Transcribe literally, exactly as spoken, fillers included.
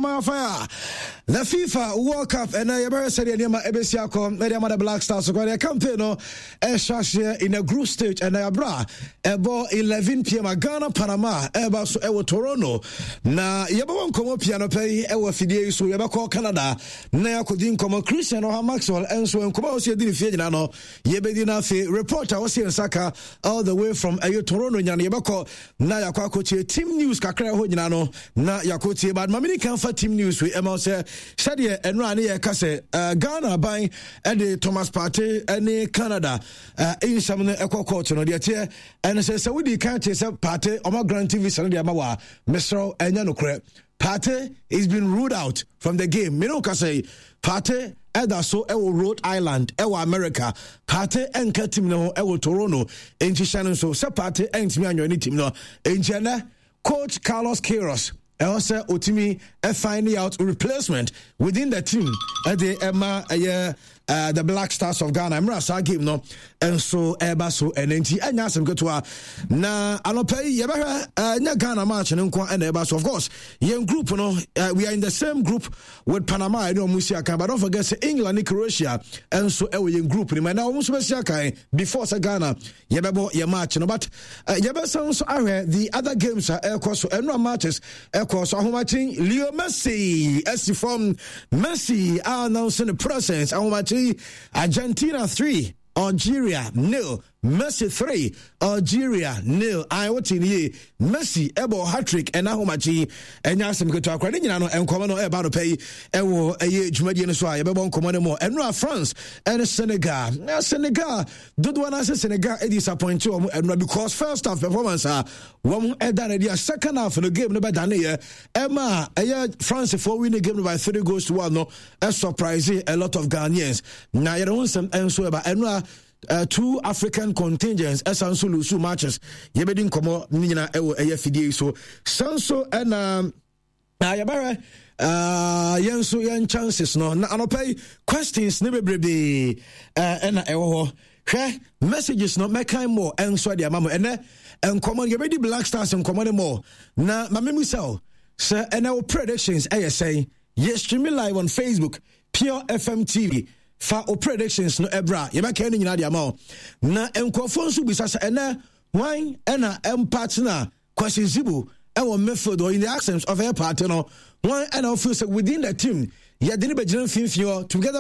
fire, more fire. The FIFA World Cup ɛnɛ yɛbɛhwɛ sɛdeɛ nneɛma ɛbɛsi akɔ ɛde ama the Black Stars kɔ deɛ campaign no ɛhyɛ aseɛ in a group stage. Ɛnɛ yɛabrɛ a ɛbɔ eleven p m a Ghana Panama ɛba so ɛwɔ Toronto, na yɛbɛwɔ nkɔmmɔ pia no pɛ yi ɛwɔ afidie yi so. Yɛbɛkɔ Canada na yɛakɔdi nkɔmmɔ. Christian Ɔha Maxwell ɛnso nkɔmmɔ a wɔsi yɛdi ne fie nyinaa no yɛbɛdi no. Afei report a wɔsi nsa ka all the way from ɛyɛ Toronto nya no, yɛbɛkɔ na yɛakɔ akɔtie team news kakra ɛhɔ nyinaa no na yɛakɔtie. But mamene kan fa team news wei ɛma sɛ sɛdeɛ ɛno a ne yɛka sɛ uh, Ghana aban ɛde Thomas Partey ne Canada uh, nsɛm no ɛkɔ court no, deɛ teɛ ɛno sɛ sɛ wodi kan te sɛ Partey ɔma grant visa no deɛ ama wɔ a, mesrɛ, ɛnyɛ nokorɛ. Partey is been ruled out from the game. Mene wo ka sɛ Partey ɛda so ɛwɔ Rhode Island, ɛwɔ America. Partey ɛnka team no ho ɛwɔ Toronto, enti hyɛ no nso sɛ Partey ɛntumi anyɔ ne team no. Enti ɛnɛ coach Carlos Queiroz ɛwɔ sɛ otumi find out replacement within the team ɛde ɛma ɛyɛ uh, the Black Stars of Ghana mmerɛ saa game no nso ɛreba so ɛnɛ. Nti ɛnyɛ asɛm ketewa na anɔpɛ yi yɛbɛhwɛ. Ɛnyɛ Ghana match no nko ɛna ɛba so. Of course, yɛn group no, uh, we are in the same group with Panama ɛne ɔmo si akan, but don't forget sɛ England ne Croatia nso ɛwɔ yɛn group no mu, ɛna ɔmo nso bɛsi akan before sɛ Ghana yɛbɛbɔ yɛn match no. But uh, yɛbɛsan nso ahwɛ the other games a ɛrekɔ so. Ɛno a matches ɛkɔ so ahomakye, Leo Messi ɛsi fam. Messi announce ne presence ahomakye. Argentina three, Algeria nil. Messi three, Algeria nil. Ayi, wote ne yie, Messi ɛbɔ hat-trick ɛna ahomakye. Ɛnyɛ asɛm ketewa akora ne nyinaa no. Nkɔmɔ no ɛba no pɛ yi ɛwɔ ɛyɛ dwumadie no so a yɛbɛbɔ nkɔmɔ no mu. Ɛno a France ɛne Senegal, na Senegal dodoɔ no ase Senegal ɛdisappoint wɔn ɛno because first half performance a wɔn ɛda no adi a, second half no game no bɛdane yɛ ɛma ɛyɛ France foɔ win the game no by three goals to one no, ɛsurprise a lot of Ghanaians, na yɛde ho nsɛm ɛnso ɛba. Ɛno a uh, two African contingents ɛsan so lose matches. Yɛbɛdi nkɔmmɔ ne nyinaa ɛwɔ ɛyɛ fidie yi so. San so ɛna na yɛbɛhwɛ uh, yɛn nso yɛn chances no. Na anɔpɛ yi questions ne bebrebee ɛna uh, ɛwɔ hɔ. Hwɛ messages no, mɛkan mɔ ɛnso ɛde ama mo. Ɛnɛ nkɔmmɔ no yɛbɛdi Black Stars nkɔmmɔ no mɔ, na ma memu sɛ sɛ ɛnɛ wo predictions ɛyɛ sɛn? Yɛ streaming live on Facebook, Pure F M T V. Fa o predictions no ɛbra, yɛbɛka no nyinaa de ama wo. Na nkurɔfoɔ nso bisa sɛ ɛnɛ hwan ɛna ɛmpartner Kwasi Zibo ɛwɔ midfield or in the absence of ɛyɛ Partey no, hwan ɛna ɔfeel sɛ within the team yɛde ne bɛgyina mfimfini hɔ together?